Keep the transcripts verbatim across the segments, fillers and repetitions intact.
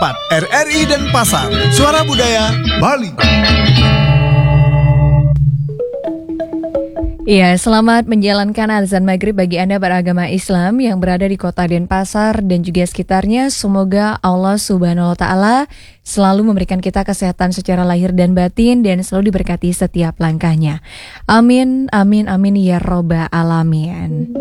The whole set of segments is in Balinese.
empat. R R I Denpasar, Suara Budaya Bali. Iya, selamat menjalankan azan maghrib bagi Anda beragama Islam yang berada di kota Denpasar dan juga sekitarnya. Semoga Allah Subhanahu wa Ta'ala selalu memberikan kita kesehatan secara lahir dan batin dan selalu diberkati setiap langkahnya. Amin, amin, amin ya robbal alamin.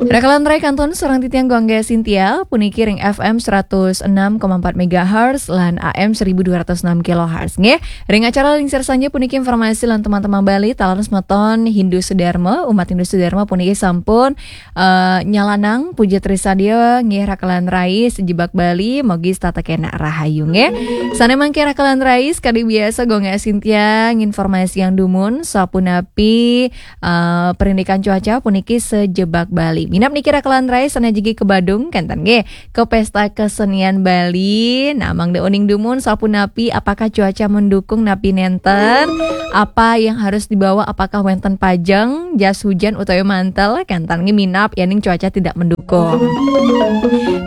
Rakalan rai kantun sareng titiang Gung Angga Cynthia, puniki ring F M seratus enam koma empat megahertz lan A M seribu dua ratus enam kilohertz. Nggih, ring acara Lingsir Sanja puniki informasi lan teman-teman Bali, taler semeton Hindu Sudarma, umat Hindu Sudarma puniki sampun eh, nyalanang puja trisadia nggih rakalan rai sejebak Bali, mogi setata kena rahayu nggih. Sane mangke rakalan rai sekadi biasa Gung Angga Cynthia nginformasi yang dumun, sapunapi eh, perindikan cuaca puniki sejebak Bali. Minap niki rakalan rai sane jegi ke Badung kenten nggih, ke pesta kesenian Bali. Nah, mangda uning dumun sapunapi, apakah cuaca mendukung napi nenten? Apa yang harus dibawa? Apakah wenten pajeng, jas hujan utawi mantel? Kenten nggih minap yening cuaca tidak mendukung.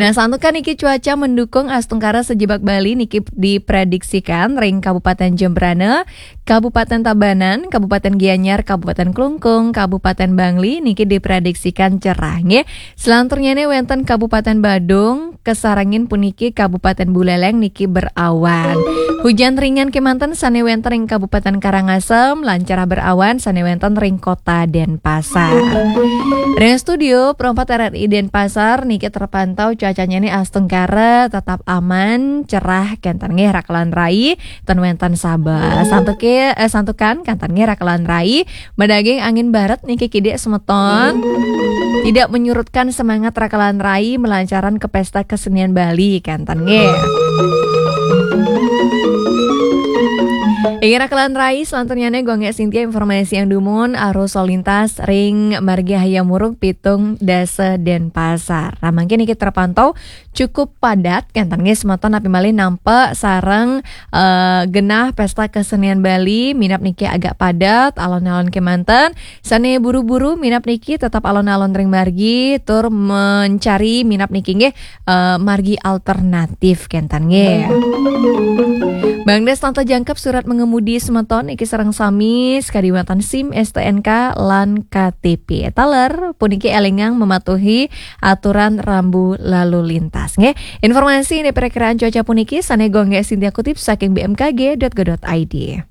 Nah, santukan niki cuaca mendukung astungkara sejebak Bali niki diprediksikan ring Kabupaten Jembrana, Kabupaten Tabanan, Kabupaten Gianyar, Kabupaten Klungkung, Kabupaten Bangli niki diprediksikan cerah nggih. Selanturnyane wenten Kabupaten Badung, kesarengin puniki Kabupaten Buleleng niki berawan. Hujan ringan kemanten sane wenten ring Kabupaten Karangasem, lan cerah berawan sane wenten ring Kota Denpasar. Ring studio Pro empat R R I Denpasar niki terpantau cuacanya ni astungkara tetap aman, cerah kenten nggih rakalan rai, ten wenten sabeh. Santuke eh, santukan kenten nggih rakalan rai, madaging angin barat niki kidik semeton tidak menyurutkan semangat rakalan rai melancaran ke pesta kesenian Bali kenten nggih. Inggih rakalan rai, selanturnyane Gung Angga Cynthia informasi yang dumun arus lalu lintas ring Margi Hayam Wuruk pitung dasa Denpasar. Nah, mangkin niki terpantau cukup padat kenten nggih semeton napi malih nampak sareng eh, genah pesta kesenian Bali, minap niki agak padat alon-alon kemanten. Sane buru-buru minap niki tetap alon-alon ring margi tur mencari minap niki nggih eh, margi alternatif kenten nggih. Bang Des tanta jangkep surat mengemudi semeton niki sareng sami sekadi wenten SIM, S T N K lan K T P. Taler puniki elingang mematuhi aturan rambu lalu lintas nggih. Informasi ini perakiraan cuaca puniki sane Gung Angga Cynthia kutip saking B M K G dot go dot I D.